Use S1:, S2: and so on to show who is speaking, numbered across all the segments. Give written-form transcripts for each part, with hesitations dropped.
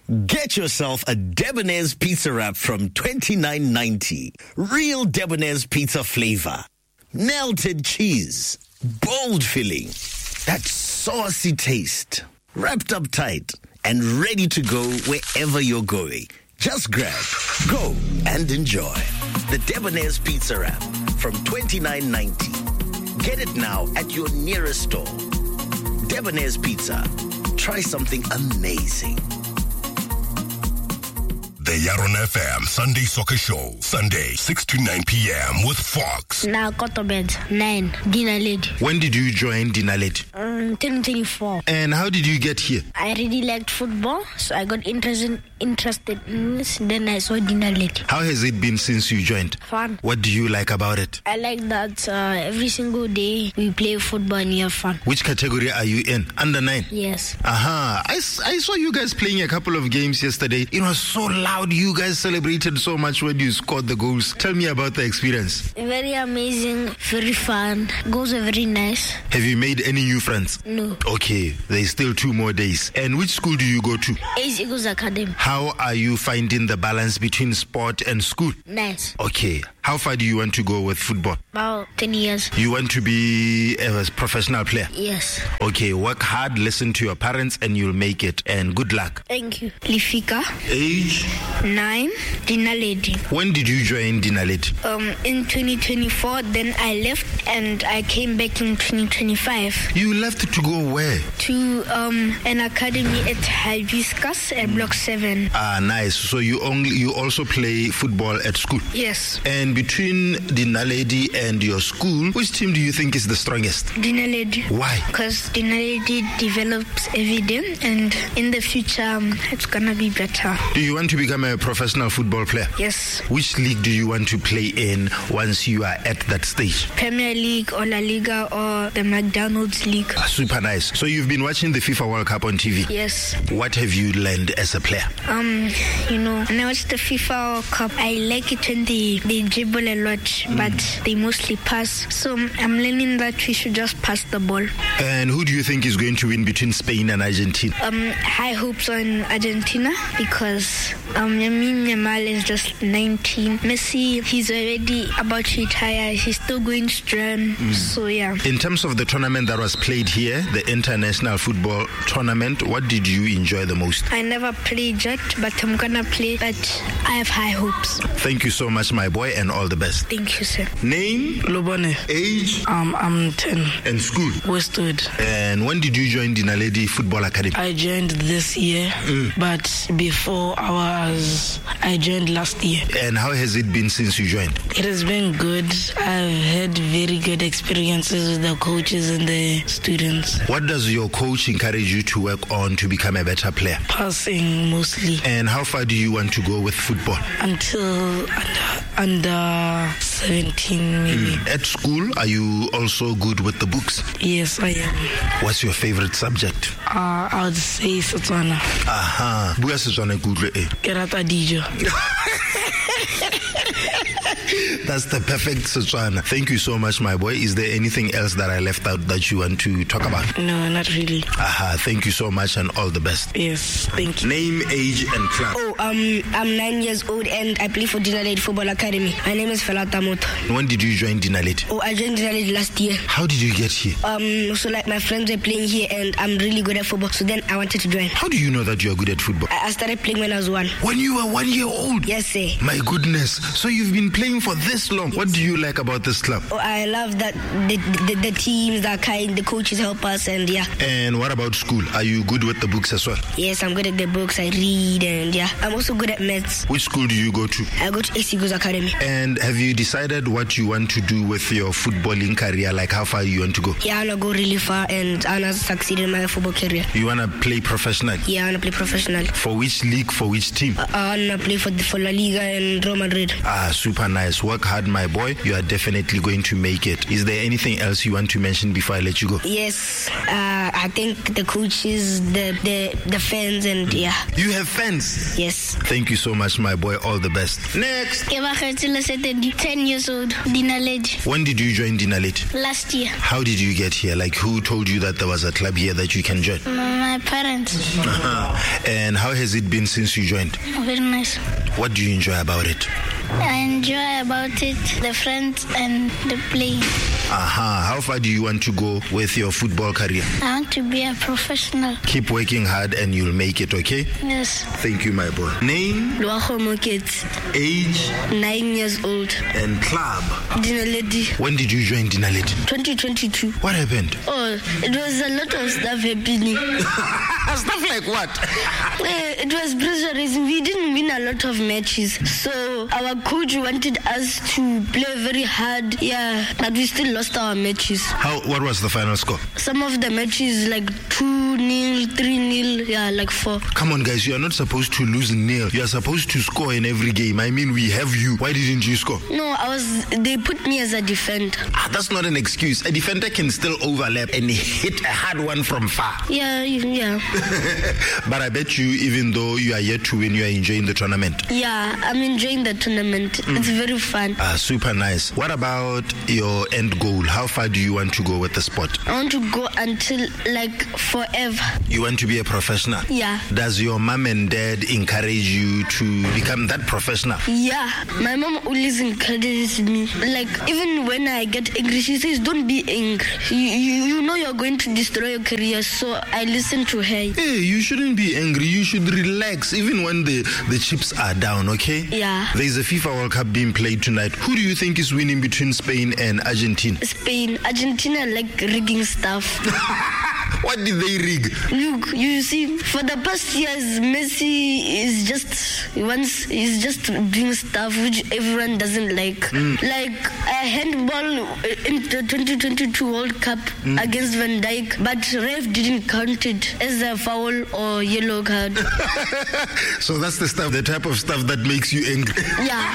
S1: Get yourself a Debonairs pizza wrap from $29.90. Real Debonairs pizza flavor. Melted cheese. Bold filling. That saucy taste. Wrapped up tight and ready to go wherever you're going. Just grab, go, and enjoy. The Debonairs Pizza Wrap from $29.90. Get it now at your nearest store. Debonairs Pizza. Try something amazing.
S2: The Yaron FM Sunday Soccer Show, Sunday, 6 to 9 p.m. with Fox.
S3: Now Kotobed, 9, Dinaledi.
S4: When did you join Dinaledi?
S3: 2024.
S4: And how did you get here?
S3: I really liked football, so I got interested in this. Then I saw Dinaledi.
S4: How has it been since you joined?
S3: Fun.
S4: What do you like about it?
S3: I like that every single day we play football and we have fun.
S4: Which category are you in? Under 9?
S3: Yes.
S4: Aha. I saw you guys playing a couple of games yesterday. It was so loud. You guys celebrated so much when you scored the goals. Tell me about the experience.
S3: Very amazing, very fun. Goals are very nice.
S4: Have you made any new friends?
S3: No.
S4: Okay, there's still 2 more days. And which school do you go to?
S3: Ace Eagles Academy.
S4: How are you finding the balance between sport and school?
S3: Nice.
S4: Okay. How far do you want to go with football?
S3: About 10 years.
S4: You want to be a professional player?
S3: Yes.
S4: Okay, work hard, listen to your parents, and you'll make it. And good luck.
S3: Thank you. Lifika.
S4: Age?
S3: 9, Dinaledi.
S4: When did you join Dinaledi?
S3: In 2024, then I left and I came back in 2025.
S4: You left to go where?
S3: To an academy at Hibiscus at Block 7.
S4: Ah, nice. So you also play football at school?
S3: Yes.
S4: And between Dinaledi and your school, which team do you think is the strongest?
S3: Dinaledi.
S4: Why?
S3: Because Dinaledi develops every day, and in the future, it's gonna be better.
S4: Do you want to become a professional football player?
S3: Yes.
S4: Which league do you want to play in once you are at that stage?
S3: Premier League or La Liga or the McDonald's League.
S4: Super nice. So you've been watching the FIFA World Cup on TV?
S3: Yes.
S4: What have you learned as a player?
S3: When I watch the FIFA World Cup, I like it when they dribble a lot, but they mostly pass. So I'm learning that we should just pass the ball.
S4: And who do you think is going to win between Spain and Argentina?
S3: High hopes on Argentina because Lamine Yamal is just 19. Messi, he's already about to retire. He's still going strong. So, yeah.
S4: In terms of the tournament that was played here, the international football tournament, what did you enjoy the most?
S3: I never played yet, but I'm going to play. But I have high hopes.
S4: Thank you so much, my boy, and all the best.
S3: Thank you, sir.
S4: Name?
S5: Lobone.
S4: Age?
S5: I'm 10.
S4: And school?
S5: Westwood.
S4: And when did you join Dinaledi Football Academy?
S5: I joined this year, but before I joined last year.
S4: And how has it been since you joined?
S5: It has been good. I've had very good experiences with the coaches and the students.
S4: What does your coach encourage you to work on to become a better player?
S5: Passing mostly.
S4: And how far do you want to go with football?
S5: Until under 17 maybe.
S4: At school, are you also good with the books?
S5: Yes, I am.
S4: What's your favorite subject?
S5: I would say Setswana.
S4: Aha. Bua Setswana ke utlwe e.
S5: Ke rata dijo.
S4: That's the perfect Setswana. Thank you so much, my boy. Is there anything else that I left out that you want to talk about?
S5: No, not really.
S4: Aha. Thank you so much and all the best.
S5: Yes, thank you.
S4: Name, age, and club.
S6: Oh, I'm 9 years old and I play for Dinaledi Football Academy. My name is Felata Moto.
S4: When did you join Dinaledi?
S6: Oh, I joined Dinaledi last year.
S4: How did you get here?
S6: So like my friends were playing here and I'm really good at football. So then I wanted to join.
S4: How do you know that you are good at football?
S6: I started playing when I was 1.
S4: When you were 1 year old?
S6: Yes, sir.
S4: My goodness. So you've been playing for this long. What do you like about this club?
S6: Oh, I love that the teams are kind, the coaches help us, and yeah.
S4: And what about school? Are you good with the books as well?
S6: Yes, I'm good at the books. I read and yeah. I'm also good at maths.
S4: Which school do you go to?
S6: I go to Ace Eagles Academy.
S4: And have you decided what you want to do with your footballing career? Like how far you want to go?
S6: Yeah, I want to go really far and I want to succeed in my football career.
S4: You want to play professional?
S6: Yeah, I want to play professional.
S4: For which league? For which team?
S6: I want to play for La Liga and Real Madrid.
S4: Super nice. Work hard, my boy. You are definitely going to make it. Is there anything else you want to mention before I let you go?
S6: Yes. I think the coaches, the fans, and yeah.
S4: You have fans?
S6: Yes.
S4: Thank you so much, my boy. All the best. Next.
S3: 10 years old, Dinaledi.
S4: When did you join Dinaledi?
S3: Last year.
S4: How did you get here? Like, who told you that there was a club here that you can join?
S3: My parents.
S4: And how has it been since you joined?
S3: Very nice.
S4: What do you enjoy about it?
S3: I enjoy about it the friends and the playing.
S4: How far do you want to go with your football career?
S3: I want to be a professional.
S4: Keep working hard and you'll make it, okay?
S3: Yes.
S4: Thank you, my boy. Name?
S6: Loago Moketsi.
S4: Age?
S6: 9 years old.
S4: And club?
S6: Dinaledi.
S4: When did you join Dinaledi?
S6: 2022.
S4: What happened?
S6: Oh, it was a lot of stuff happening.
S4: Stuff like what?
S6: It was pressurizing. We didn't win a lot of matches. So our coach wanted us to play very hard. Yeah, but we still lost our matches.
S4: What was the final score?
S6: Some of the matches like 2-0, 3-0, yeah, like 4.
S4: Come on, guys, you are not supposed to lose nil. You are supposed to score in every game. I mean, we have you. Why didn't you score?
S6: No, they put me as a defender.
S4: That's not an excuse. A defender can still overlap and hit a hard one from far.
S6: Yeah.
S4: But I bet you, even though you are yet to win, you are enjoying the tournament.
S6: Yeah, I'm enjoying the tournament. It's very fun.
S4: Super nice. What about your end goal? How far do you want to go with the sport?
S6: I want to go until, like, forever.
S4: You want to be a professional?
S6: Yeah.
S4: Does your mom and dad encourage you to become that professional?
S6: Yeah. My mom always encourages me. Like, even when I get angry, she says, don't be angry. You know you're going to destroy your career, so I listen to her.
S4: Hey, you shouldn't be angry. You should relax, even when the chips are down, okay?
S6: Yeah.
S4: There's a FIFA World Cup being played tonight. Who do you think is winning between Spain and Argentina?
S6: Spain. Argentina like rigging stuff.
S4: What did they rig?
S6: Look, you see, for the past years, Messi is just doing stuff which everyone doesn't like. Like a handball in the 2022 World Cup against Van Dijk, but ref didn't count it as a foul or yellow card.
S4: So that's the type of stuff that makes you angry.
S6: Yeah.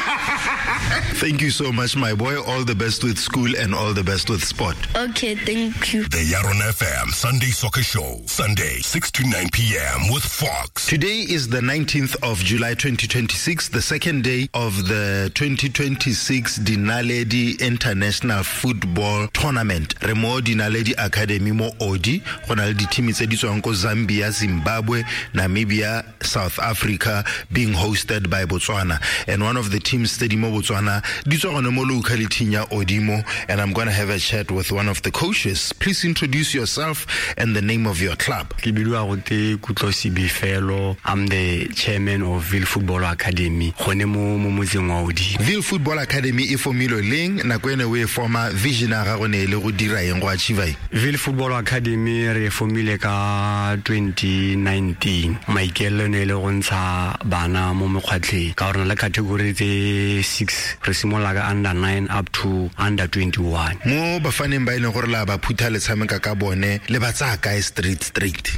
S4: Thank you so much, my boy. All the best with school and all the best with sport.
S6: Okay, thank you.
S2: The Yaron FM Sunday Soccer Show, Sunday, 6 to 9 p.m. with Fox.
S4: Today is the 19th of July 2026, the second day of the 2026 Dinaledi International Football Tournament. Re mo Dinaledi Academy mo Odi, go na le di-team tse di tswang ko Zambia, Zimbabwe, Namibia, South Africa, being hosted by Botswana. And one of the teams tse di mo Botswana di tswa gone mo locality ya Odimo, and I'm going to have a chat with one of the coaches. Please introduce yourself and the name of your club.
S7: I'm the chairman of Ville Football Academy.
S4: Ville Football Academy e formilwe leng, nako ene o e forma, vision ya gago ne e le go dira eng, go achieve?
S7: Ville Football Academy re formile ka 2019. Maikaelelo ne e le go ntsha bana mo mekgwatlheng ka gore na le category tse 6, re simolola ka under 9 up to under 21.
S4: Mo bafaneng ba e leng gore la ba phutha le tshameka ka bone, le ba tsaya kae straight?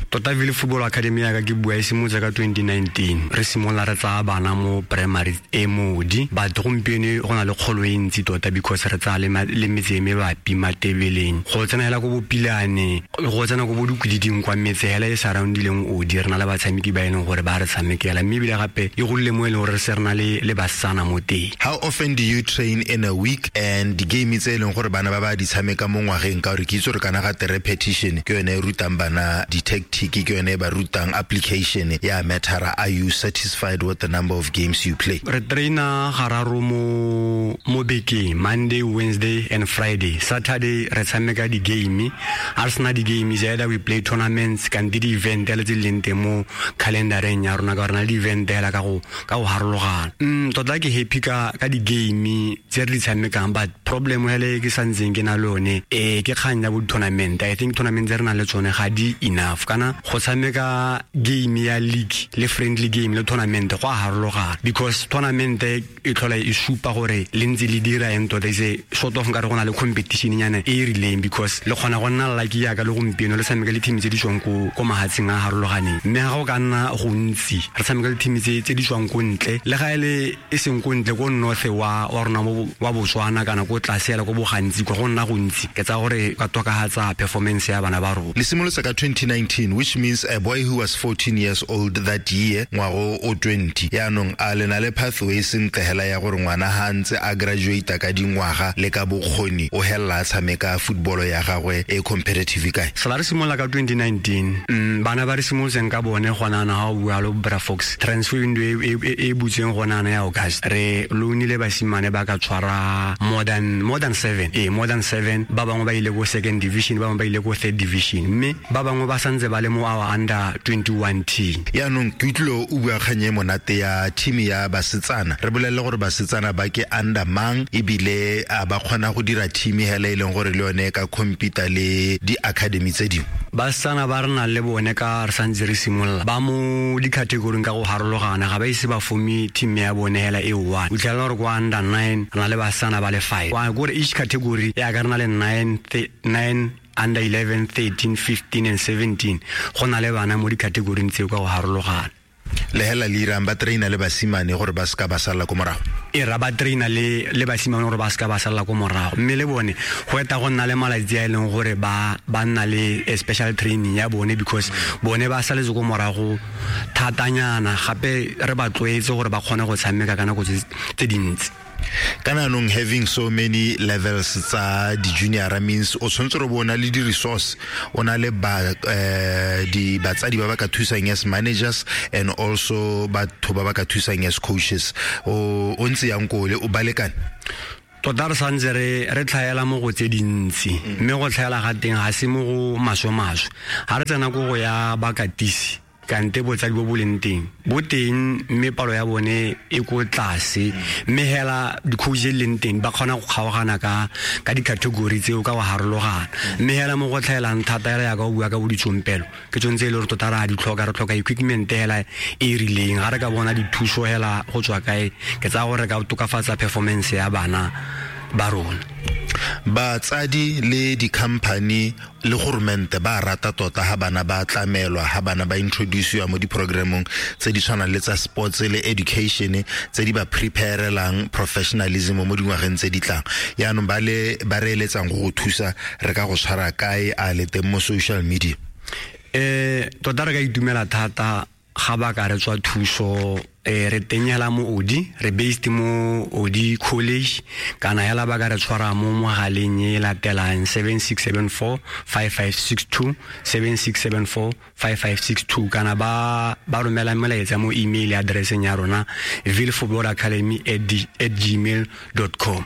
S7: Tota Ville Football Academy ya ka ke bua e simolotse ka 2019. Re simolola re tsaya bana mo primary e modi, but gompieno go na le kgolo e ntsi tota because re tsaya le metse e mebapi Matebeleng, go tsena hela ko Bopilane, go tsena ko bo Dikwididing kwa metse hela e surroundileng Odi. Re na le batshameki ba e leng gore ba re tshamekela, mme ebile gape e golile mo e leng gore re se re na le basetsana mo teng.
S4: How often do you train in a week, and di-game tse e leng gore bana ba ba di tshameka mo ngwageng, ka gore ke itse gore kana gate repetition ke yone e rutang bana di-tactic, ke yone e ba rutang application ya mattera. Are you satisfied with the number of games you play?
S7: Re traina gararo mo bekeng, Monday, Wednesday and Friday. Saturday re tshameka di-game. A re sena di-game, either we play tournaments kante di-event le tse di leng teng mo calendareng ya rona, ka gore na le di-event hela ka go harologana. Tota ke happy ka di-game tse re di tshamekang, but problem hele ke santseng ke na le yone ke kgang ya bo tournament. I think tournament tse re nang le tsona tsone ga di enough. Kana go tshameka game ya league le friendly game le tournament go a harologana, because tournament e tlhola e supa gore le ntse le dira eng tota, ise sort of nkare go na le competition nyana e e rileng, because le kgona go nna lucky yaka le gompieno le tshameka le team tse di tswang ko mahatsheng a harologaneng. Mme ga go ka nna gontsi re tshameka le team tse di tswang ko ntle, le ga e le e seng ko ntle ko north wa rona wa Botswana kana ko tlase yala ko bogantsi kwa go nna gontsi, ke tsa gore ka tokafatsa performance ya bana ba rona.
S4: Le simolotse ka 2019, which means a boy who was 14 years old that year, ngwago o 20. Yaanong a le na le pathway sentle hela ya gore ngwana ha ntse a graduate ka dingwaga le ka bokgoni o hella a tshameka football ya gagwe e competitive kae?
S7: Sala re simolola ka 2019, bana ba re simolotseng ka bone gona na ha o bua le Bra Fox, transfer window e butseng gona na ya August, re loanile basimane ba ka tshwara more than 7, more than 7. Ba bangwe ba ile go second division, ba bangwe ba ile go third division, mme ba bangwe ba santse ba le mo our under 21 team.
S4: Yaanong ke utlwile o bua kgang e monate ya team ya basetsana, re bolelle gore basetsana ba ke under mang, ebile a ba kgona go dira team hela e leng gore le yone ka compete le di-academy tse dingwe?
S7: Basetsana ba re nang le bone ka re santse re simolola ba mo di-categoring ka go harologana, ga ba ise ba forme team ya bone hela e one. O fitlhela gore kwa under 9 re na le basetsana ba le 5, kore each category ya ka re na le 9 under 11, 13, 15 and 17, go na le bana mo di-categoring tseo ka go harologana.
S4: Le hela le irang ba traina le basimane gore ba seka ba salla ko morago?
S7: E ra ba traina le basimane gore ba seka ba salla ko morago, mme le bone go eta go nna le malatsi a e leng gore ba nna le special training ya bone, because bone ba saletse ko morago thatanyana, gape re ba tlwaetse gore ba kgone go tshameka ka nako tse dintsi.
S4: Kana anong having so many levels tsa di-junior means o tshwanetse re bo o na le di-resource, o na le di batsadi ba ba ka thusang as managers and also batho ba ba ka thusang as coaches. O ntse yang kole o balekane?
S7: Tota re santse re tlhaela mo go tse dintsi, mme go tlhaela ga teng ga se mo go maswe-maswe. Ga re tsena ko go ya bakatisi, kante botsadi bo bo leng teng bo teng, mme palo ya bone e ko tlase, mme hela di-coach e leng teng ba kgona go kgaogana ka di-category tseo ka go harologana. Mme hela mo go tlhaelang thata hela yaka o bua ka bo ditsompelo, ke tsone tse e le gore tota re a di tlhoka, re tlhoka equipment hela e rileng. Ga re ka bona dithuso hela go tswa kae, ke tsaya gore re ka tokafatsa performance ya bana ba rona.
S4: Batsadi le di-company le goromente ba rata tota ha bana ba tlamelwa, ha bana ba introduciwa mo di-programmong tse di tshwanang le tsa sports le education tse di ba preparelang professionalism mo dingwageng tse di tlang. Yaanong ba le ba re eletsang go go thusa, re ka go tshwara kae a le teng mo social media?
S7: Tota re ka itumela thata ga ba ka re tswa thuso. Re teng hela mo Odi, re based mo Odi College, kana hela ba ka re tshwara mo mogaleng e latelang 7674 5562, 7674 5562, kana ba romela molaetsa mo email addresseng ya rona villefootballacademy@gmail.com.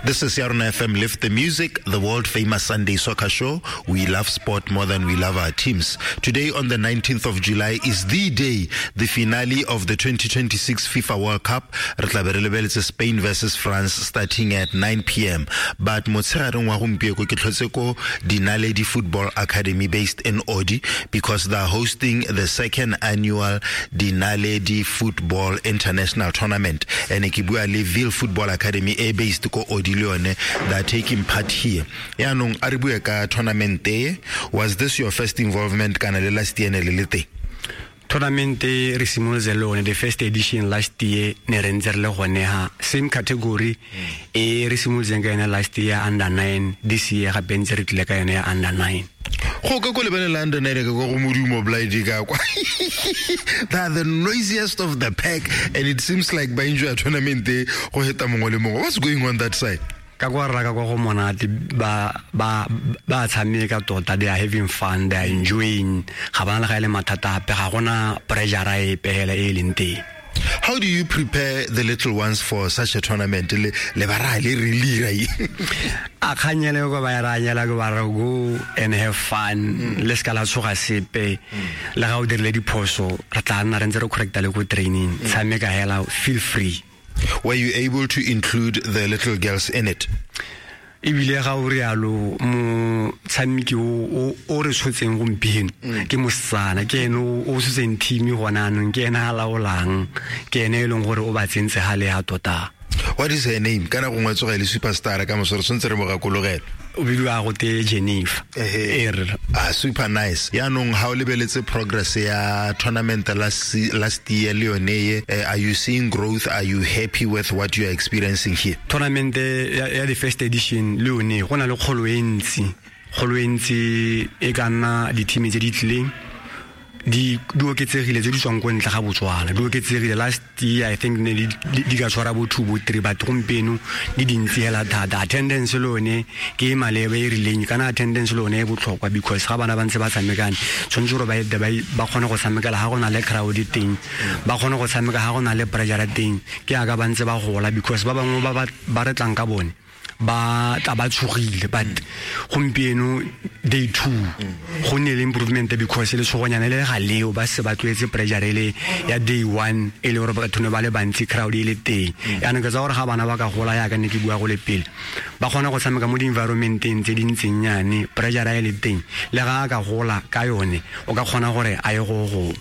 S4: This is Yarona FM, Lift the Music, the world famous Sunday soccer show. We love sport more than we love our teams. Today on the 19th of July is the day, the finale of the 2026 FIFA World Cup. Re tla be re lebeletse Spain versus France starting at 9 p.m. But motshegareng wa gompieno ke tlhotse ko Dinaledi Football Academy based in Odi, because they are hosting the second annual Dinaledi Football International Tournament. And ke bua le Ville Football Academy e based ko Odi le yone, they are taking part here. Yaanong a re bue ka tournament e, was this your first involvement kana le last year ne le le teng?
S7: Tournament re simolotse le one the first edition last year, ne re ntse re le gone ha same category e re simolotseng ka yone last year under 9, this year gape ntse re tlile ka yone ya under 9.
S4: Go ka ko lebelela under 9 ka go modumo blind ka kwa. They are the noisiest of the pack and it seems like ba enjoy tournament e go heta mongwe le mongwe. What's going on that side?
S7: Ka kwa rra ka kwa go monate, ba tshameka tota, they are having fun, they are enjoying, ga bana le ga e le mathata ape, ga gona pressure epe hela e leng teng.
S4: How do you prepare the little ones for such a tournament? Le ba ra le re lira.
S7: A kganyele ko ba ra nyela ko ba re go and have fun. Le ska la tshoga sepe. Le ga o dirile diphoso, re tla nna re ntse re correcta le ko training. Tshameka hela, feel free.
S4: Were you able to include the little girls in it?
S7: Ebile ga o rialo, motshameki o re tshotseng gompieno ke mosetsana, ke ene o tshotseng team gona anong, ke ene a laolang, ke ene e leng gore o ba tsentse ga le ya tota.
S4: What is her name? Kana gongwe tsoga e le superstar ka moso, re tshwanetse re mo gakologela.
S7: O bidiwa go te Jennifer.
S4: Ehe. Ah, super nice. Yaanong ha o lebeletse progress ya tournament last year le yone ye, are you seeing growth? Are you happy with what you are experiencing here?
S7: Tournament ya the first edition le yone go na le kgolo e ntsi. Kgolo e ntsi e ka nna di-team tse di tlileng di oketsegile tse di tswang ko ntle ga Botswana, di oketsegile. Last year I think ne di ka tshwara bo 2 bo 3, but gompieno di dintsi hela thata. Attendance le yone ke e maleba e rileng, kana attendance le yone e botlhokwa, because ga bana ba ntse ba tshamekane tshwanetse gore ba ete ba kgone go tshamekela ga go na le crowd teng, ba kgone go tshameka ga go na le pressure teng, ke yaka ba ntse ba gola, because ba bangwe ba re tlang ka bone ba tla ba tshogile. But gompieno day 2 go nne le improvement, because le tshogonyana le ga leo ba se ba tlwaetse pressure le ya day 1 e le gore batho ne ba le bantsi, crowd e le teng. Yaanong ke tsa gore ga bana ba ka gola yaka ne ke bua go le pele, ba kgona go tshameka mo di-environmenteng tse di ntseng nyane, pressure e le teng, le ga a ka gola ka yone o ka kgona gore a ye go go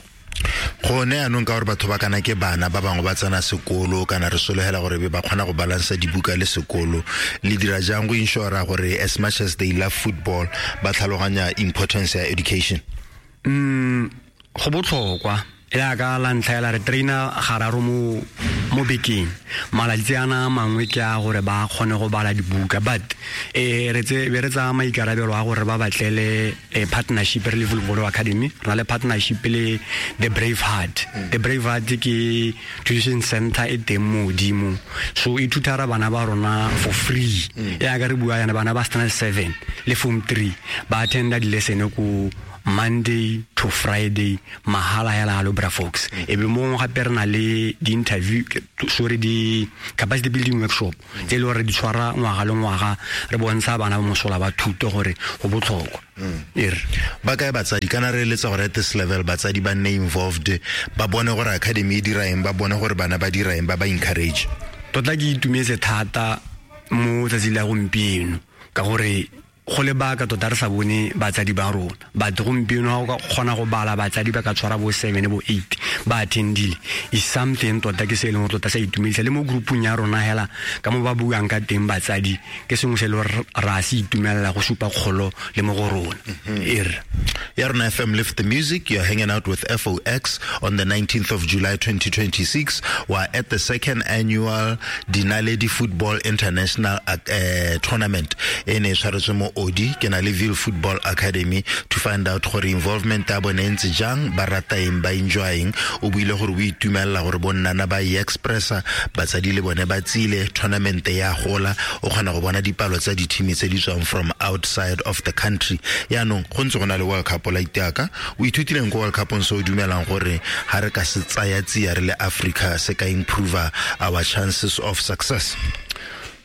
S4: Gone yaanong ka gore batho ba kana ke bana ba bangwe ba tsena sekolo, kana re sologela gore be ba kgona go balansa dibuka le sekolo, le dira jang go ensure gore as much as they love football ba tlhaloganya importance ya education?
S7: Go botlhokwa. Yaka la ntlha ela re trainer gararo mo bekeng, malatsi ana a mangwe ke a gore ba kgone go bala dibuka, but re tse be re tsaya maikarabelo a gore ba batlele partnership. Re le Football Academy re na le partnership le The Brave Heart. The Brave Heart ke tuition center e teng mo godimo, so e thutara bana ba rona for free. Yaka re bua yana, bana ba standard 7 le form 3 ba attenda di-lesson ko Monday to Friday mahala hela halo, bra Fox. E be mo gape re na le di-interview, sorry, di-capacity building workshop tse e le gore di tshwara ngwaga le ngwaga, re bontsha bana ba mosola ba thuto gore go botlhokwa. Ere.
S4: Ba kae batsadi? Kana re eletsa gore at this level batsadi ba nne involved, ba bone gore academy e dira eng, ba bone gore bana ba dira eng, ba ba encourage.
S7: Tota ke itumetse thata mo tsatsi la gompieno, ka gore go lebaka tota re sa bone batsadi ba rona, but gompieno ga o ka kgona go bala batsadi ba ka tshwara bo 7 bo 8 ba attendile is something tota ke se e leng gore tota sa itumedisa. Le mo groupung ya rona hela ka mo ba buang ka teng batsadi, ke sengwe se e le gore ra se itumelela, go supa kgolo le mo go rona. Ere.
S4: Ya Rona FM, lift the music. You're hanging out with FOX on the 19th of July 2026. We're at the second annual Dinaledi Football International Tournament e ne e tshwaretswe mo Odi. Ke na le Ville Football Academy to find out gore involvement ya bone e ntse jang, ba rata eng, ba enjoying. O buile gore o itumelela gore bonnana ba e expressa, batsadi le bone ba tsile, tournament ya gola, o kgona go bona dipalo tsa di-team tse di tswang from outside of the country. Yaanong go ntse go na le World Cup la iteaka, o ithutileng ko World Cupong se o dumelang gore ga re ka se tsaya tsia re le Africa se ka improve our chances of success?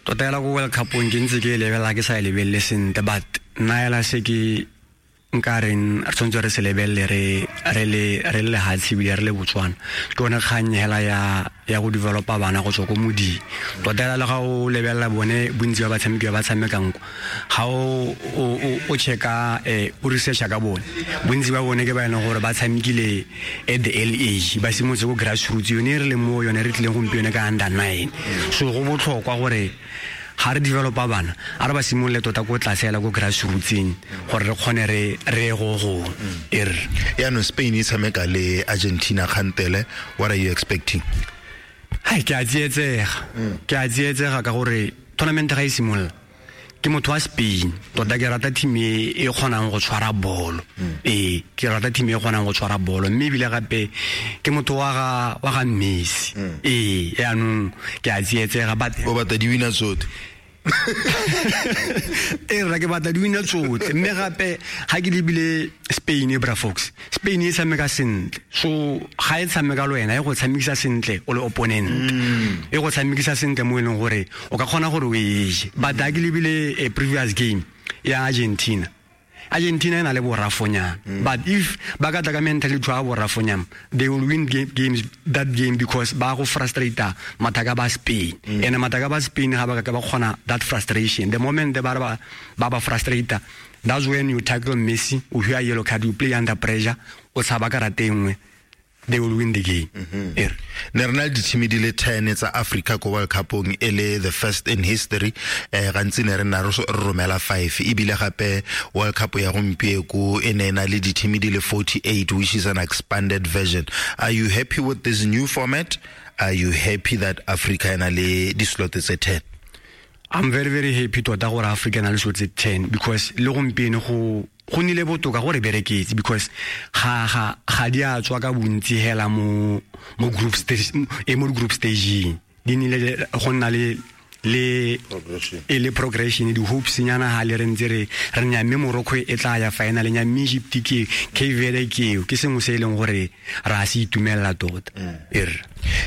S7: Tota hela ko World Cupong ke ntse ke e lebelela, ke sa e lebelele sentle, but nna hela se ke nka reng re tshwanetse re se lebelele re le lehatshe ebile re le Botswana, ke yone kgang hela ya go developa bana go tswa ko moding. Tota hela le ga o lebelela bone bontsi ba batshameki ba ba tshamekang kwa, ga o checka, o researcha ka bone, bontsi ba bone ke ba e leng gore ba tshamekile at the early age, ba simolotse ko grassroots yone e re leng mo yone re tlileng gompieno ka under 9. So go botlhokwa gore ga re developa bana, a re ba simolole tota ko tlase hela ko grassrootseng gore re kgone re ye go gongwe. Ere.
S4: Yaanong Spain e tshameka le Argentina kgantele, what are you expecting?
S7: Hai, ke a tsietsega. Ke a tsietsega ka gore tournament ga e simolola, ke motho wa Spain tota, ke rata team e kgonang go tshwara bolo. Ee, ke rata team e kgonang go tshwara bolo, mme ebile gape ke motho wa ga Messi. Ee, yaanong ke a tsietsega, but
S4: O batla di-winner tsotlhe.
S7: Ee rra, ke batla di-winner tsotlhe, mme gape ga ke lebile Spain e, bra Fox, Spain e tshameka sentle, so ga e tshameka le wena e go tshamekisa sentle o le opponent, e go tshamekisa sentle mo e leng gore o ka kgona gore o e je. But ga ke lebile a previous game ya Argentina, Argentina e na le borafonyana. But if ba ka tla ka mentality ya borafonyana, they will win games that game, because ba go frustrate mathaka ba Spain. And mathaka ba Spain ga ba ka ba kgona that frustration. The moment they ba ba frustrate, that's when you tackle Messi, o hear yellow card, you play under pressure, o tshaba karate nngwe, they will win the game.
S4: Ne re na le di-team di le 10 tsa Africa ko World Cupong, e le the first in history. Gantsi ne re nna re romela 5, ebile gape World Cup ya gompieko e ne e na le di-team di le 48, which is an expanded version. Are you happy with this new format? Are you happy that Africa e na le di-slot tse 10?
S7: I'm very, very happy tota gore Africa na le slot tse 10, because le gompieno go nnile botoka gore bereketse, because ga di a tswa ka bontsi hela mo group stage, mo group stage di nnile go nna le le progression, di hopes nyana ha le re ntse re nya, mme Morocco e tla ya final nya, mme Egypt ke Cape Verde ke sengwe se e leng gore ra se itumella tota.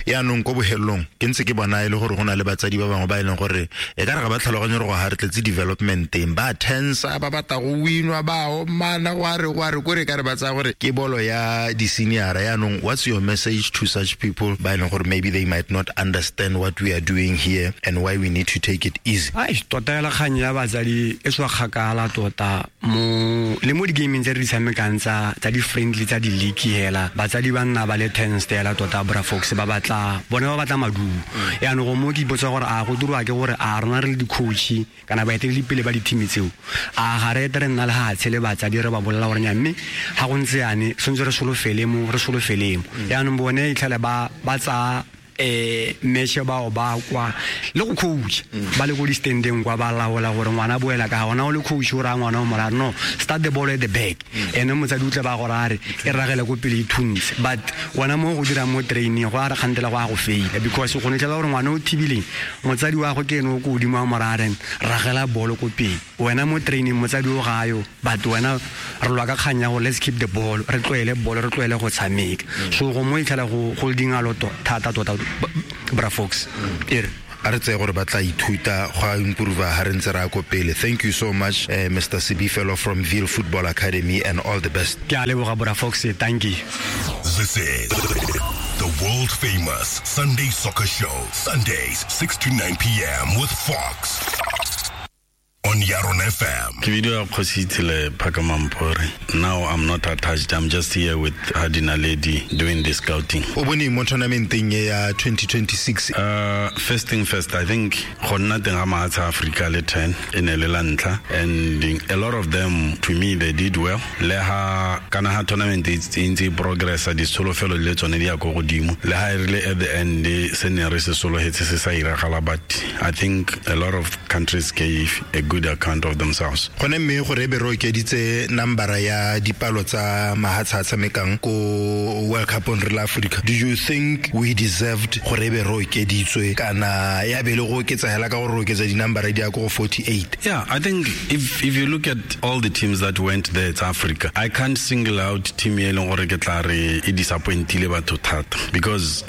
S4: Yaanong ko bohelong ke ntse ke bona e le gore go na le batsadi ba bangwe ba e leng gore e ka re ga ba tlhaloganye gore go ga re tletse development teng, ba tensa, ba batla go winwa, ba omana, go a re kore ka re ba tsaya gore ke bolo ya di-senior. Yaanong what's your message to such people ba e leng gore maybe they might not understand what we are doing here and why we need to take it easy?
S7: Ai, tota ya kgang ya batsadi e tswa kgakala tota mo le mo di-gaming tse re di tshamekang tsa di-friendly tsa di-league hela, batsadi ba nna ba le tense hela tota, bra Fox, ba batla bone ba batla maduo. Yaanong go mo ke ipotsa gore a go dirwa ke gore a rona re le di-coach kana baeteledipele ba di-team tseo, a ga re ete re nna le gatshe le batsadi re ba bolela gore nya, mme ga go ntse yane tshwanetse re solofele mo, re solofele mo. Yaanong bone itlhele ba tsaya match bao ba kwa le go coach ba le go di standing kwa, ba laola gore ngwana boela ka gona, o le coach o raya ngwana o morare no, start the ball at the back, ene motsadi o tle ba gore a re e ragele ko pele e thuntse. But wena mo go dirang mo training go a re kgantela go a go faila, because go netlhela gore ngwana o thibileng motsadi wa go ke ene o ko godimo wa morare ragela bolo ko pele, wena mo training motsadi o gayo, but wena re lwa ka kgang ya gore let's keep the ball, re tloele bolo, re tloele go tshameka. So go mo itlhela go holding a lot thata tota, bra Fox.
S4: A re tseye gore ba tla ithuta go a improve ha re ntse re ya ko pele. Thank you so much, Mr. Sebifelo from Ville Football Academy, and all the best.
S7: Ke a leboga, bra Fox, thank you.
S2: This is the world famous Sunday Soccer Show, Sundays 6 to 9 p.m. with Fox on Yaron FM.
S8: Ke video ya Kgosi Tshile Phakamampore. Now I'm not attached. I'm just here with Hadinaledi doing the scouting.
S4: O bone mo tournamenteng ya 2026?
S8: First thing first, I think go nna teng ga mahatshe a Africa le 10 e ne le la ntlha, and a lot of them, to me, they did well. Le ha kana ha tournament e ntse e progressa, ditsholofelo le tsone di ya ko godimo. Le ha e rile at the end se ne re se sologetse se sa iragala, but I think a lot of countries gave a good account of themselves.
S4: Gone mme gore be re okeditse nambara ya dipalo tsa mahatshe a tshamekang ko World Cup on re la Africa, do you think we deserved gore be re okeditswe kana ya be le go oketsa hela ka gore re oketsa dinambara di ya ko go 48?
S8: Yeah, I think if you look at all the teams that went there, it's Africa. I can't single out team e leng gore ke tla re e disappointile batho thata, because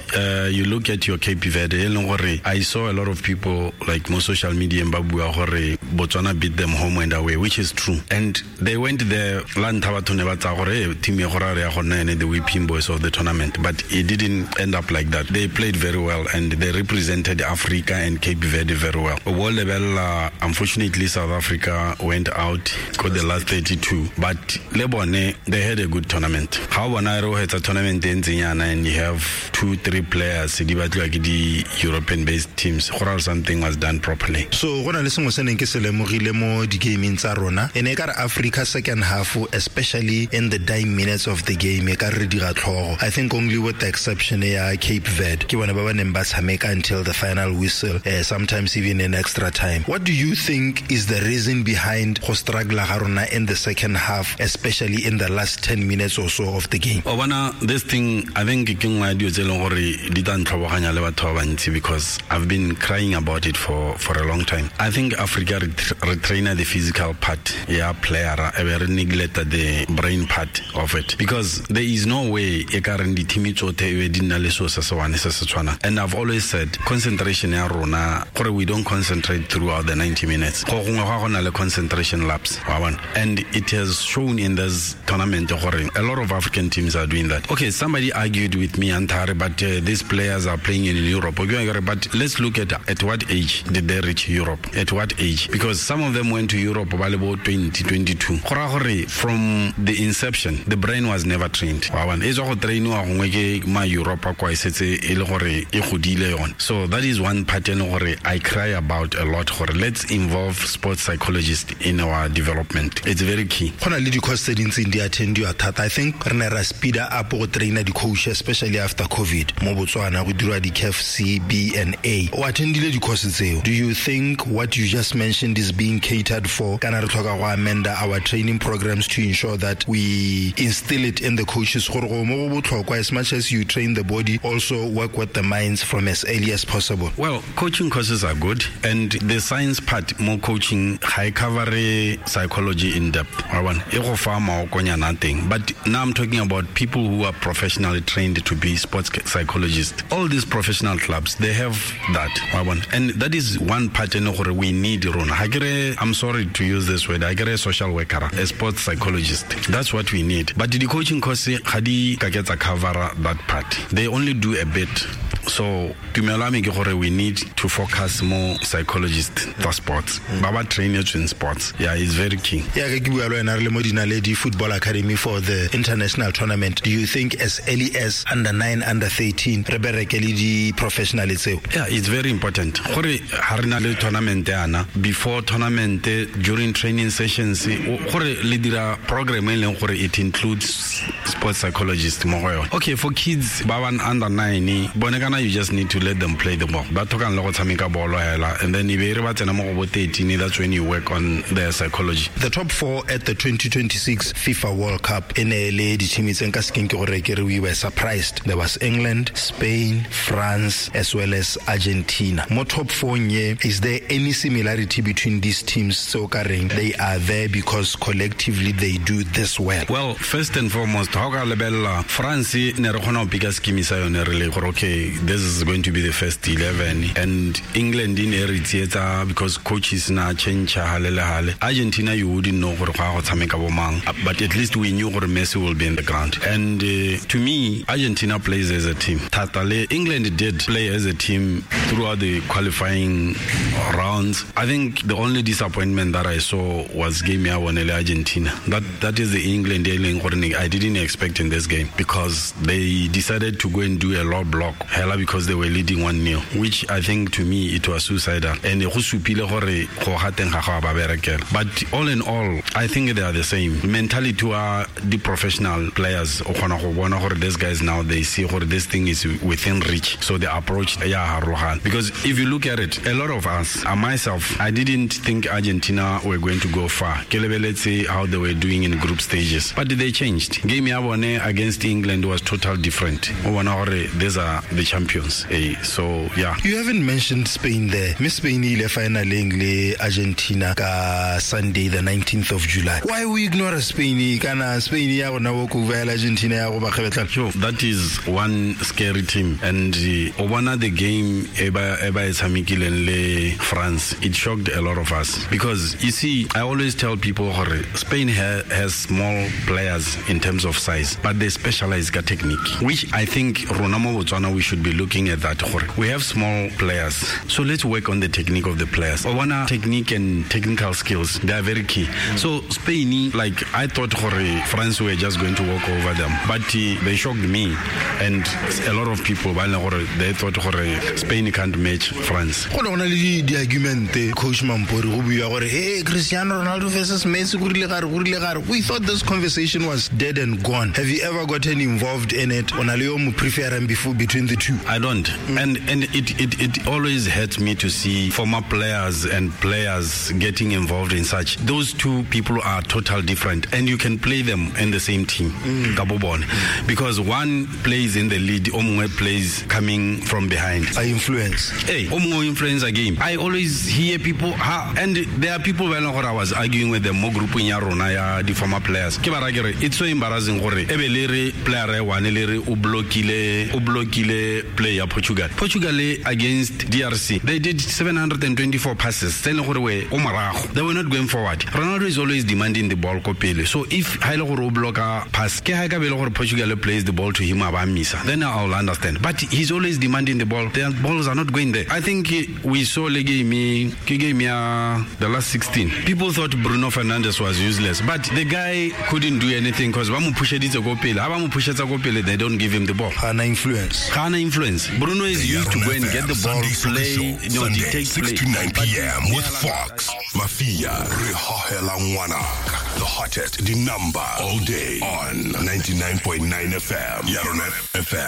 S8: you look at your Cape Verde e leng gore I saw a lot of people like mo social media ba bua gore Botswana beat them home and away, which is true. And they went there, la ntlha batho ne ba tsaya gore team e gore re ya go nna ene the whipping boys of the tournament, but it didn't end up like that. They played very well and they represented Africa and Cape Verde very well. World level, unfortunately, South Africa went out, got the last 32, but le bone, they had a good tournament. How bona re o hetsa tournament e ntseng yana and you have 2-3 players di batliwa ke di European based teams, go ra something was done properly.
S4: So go na le sengwe se neng ke se lemogile mo di-gaming tsa rona, e ne e ka re Africa second half, especially in the dying minutes of the game, e ka re dira tlhogo. I think only with the exception ya Cape Verde ke bone ba ba neng ba tshameka until the final whistle, sometimes even in extra time. What do you think is the reason behind go struggle ga rona in the second half, especially in the last 10 minutes or so of the game?
S8: O bona, this thing, I think ke nngwe ya dilo tse e leng gore di tla ntlhoboganya le batho ba bantsi, because I've been crying about it for a long time. I think Africa re Re traina the physical part ya player e be re neglect the brain part of it, because there is no way e ka reng di-team tsotlhe e be di nna le seo se se one se se tshwanang. And I've always said concentration ya rona, gore we don't concentrate throughout the 90 minutes, go gongwe ga go na le concentration lapse, wa bona. And it has shown in this tournament gore a lot of African teams are doing that. Okay, somebody argued with me, Antare, but these players are playing in Europe. Okay, but let's look at what age did they reach Europe? At what age? Because some of them went to Europe ba le bo 20, 22. Go raya gore from the inception, the brain was never trained. Wa bona, e tswa go trainiwa gongwe ke ma Europa kwa e setse e le gore e godile yone. So that is one part e leng gore I cry about a lot, gore let's involve sports psychologists in our development. It's very key.
S4: Go na le di-course tse dintseng di attendiwa thata. I think re ne ra speeda up go traina di-coach, especially after COVID mo Botswana, go dirwa di-CAF C, B and A. O attendile di-course tseo. Do you think what you just mentioned is being catered for? Kana re tlhoka go amenda our training programs to ensure that we instill it in the coaches gore go mo go botlhokwa, as much as you train the body, also work with the minds from as early as possible?
S8: Well, coaching courses are good, and the science part more coaching ga e cover psychology in depth. Wa bona, e go fa maokonyana teng. But now I'm talking about people who are professionally trained to be sports psychologists. All these professional clubs, they have that. Wa bona, and that is one part e leng gore we need rona. Ga ke re, I'm sorry to use this word, ga ke re social worker, a sports psychologist. That's what we need. But the coaching course ga di ka ke tsa cover that part. They only do a bit. So tumelo ya me ke gore we need to focus more psychologists for sports. Ba ba train in sports. Yeah, it's very key.
S4: Ya ke bua le wena re le mo Dinaledi Football Academy for the international tournament. Do you think as early as under 9, under 13 re bereke le di-professional tseo?
S8: Yeah, it's very important. Gore ha re na le tournament yana, before tournament, during training sessions, gore le dira program e leng gore it includes sports psychologist mo go yone. Okay, for kids ba ba under 9, bone kana you just need to let them play the ball. Ba tlhokang le go tshameka bolo hela, and then e be re ba tsena mo go bo 13, that's when you work on their psychology.
S4: The top 4 at the 2026 FIFA World Cup e ne le di-team tse nka sekeng ke gore ke re we were surprised. There was England, Spain, France, as well as Argentina. Mo top 4 nye, is there any similarity between these teams so ka reng they are there because collectively they do this well?
S8: Well, first and foremost, ha o ka lebella France ne re kgona go pika scheme sa yone re le gore okay, this is going to be the first 11, and England in e re tsietsa because coaches na change hale le hale. Argentina, you wouldn't know gore go ya go tshameka bo mang, but at least we knew gore Messi will be in the ground. And to me, Argentina plays as a team. Thata le England did play as a team throughout the qualifying rounds. I think the only disappointment that I saw was game ya bone le Argentina. That is the England e leng gore I didn't expect in this game, because they decided to go and do a low block hela because they were leading 1-0, which I think to me it was suicidal. And go supile gore go gateng ga go ba berekela. But all in all, I think they are the same. Mentality are the professional players o kgona go bona gore these guys now they see gore this thing is within reach. So the approach ya harologana. Because if you look at it, a lot of us, myself, I didn't think Argentina were going to go far. Ke lebeletse how they were doing in group stages. But they changed. Game ya bone against England was total different. O bona gore these are the champions. So yeah.
S4: You haven't mentioned Spain there. Miss Spain ile finaleng le Argentina ka Sunday the 19th of July. Why we ignore Spain? Kana Spain ya rona bo go Argentina ya go ba kgebetla.
S8: Sure, that is one scary team. And o bona the game e ba e tshamekileng le France, it shocked a lot of us. Because you see, I always tell people gore Spain has small players in terms of size, but they specialize ka technique, which I think rona mo Botswana we should be looking at that. Gore we have small players, so let's work on the technique of the players. O bona technique and technical skills, they are very key. So Spain, like I thought gore France were just going to walk over them, but they shocked me and a lot of people ba leng gore they thought gore Spain can't match France.
S4: Go na le di-argument, Coach Mampori, go bua gore hey, Cristiano Ronaldo versus Messi, go rile gare, go rile gare. We thought this conversation was dead and gone. Have you ever gotten involved in it? O na le yo mo preferang before between the two?
S8: I don't. And it always hurts me to see former players and players getting involved in such. Those two people are total different, and you can play them in the same team. Ka bo bone. Because one plays in the lead, o mongwe plays coming from behind.
S4: I influence.
S8: Hey, o mongwe influence a game. I always hear people, ha, and there are people ba e leng gore I was arguing with them mo grouping ya rona ya di former players. Ke ba ra ke re, it's so embarrassing gore e be le re player e one le re o blockile play ya Portugal. Portugal against DRC, they did 724 passes. Tse e leng gore we o morago. They were not going forward. Ronaldo is always demanding the ball ko pele. So if ha ile gore o blocka pass, ke ha ka be le gore Portugal plays the ball to him a ba missa. Then I'll understand. But he's always demanding the ball. The balls are not going there. I think we saw le game ke game ya the last 16. People thought Bruno Fernandes was useless, but the guy couldn't do anything because ba mo pusheditse ko pele. Ha ba mo pushetsa ko pele, they don't give him the ball.
S4: Ga na influence.
S8: Ga na influence. Bruno is used to go and get the ball,
S2: Sunday Soccer
S8: play,
S2: Show, Sunday,
S8: dictate
S2: 6
S8: play.
S2: to 9 p.m. with Fox. Mafia, Re Hohela Ngwanaka. The hottest, the number, all day on 99.9 FM. Yarona FM.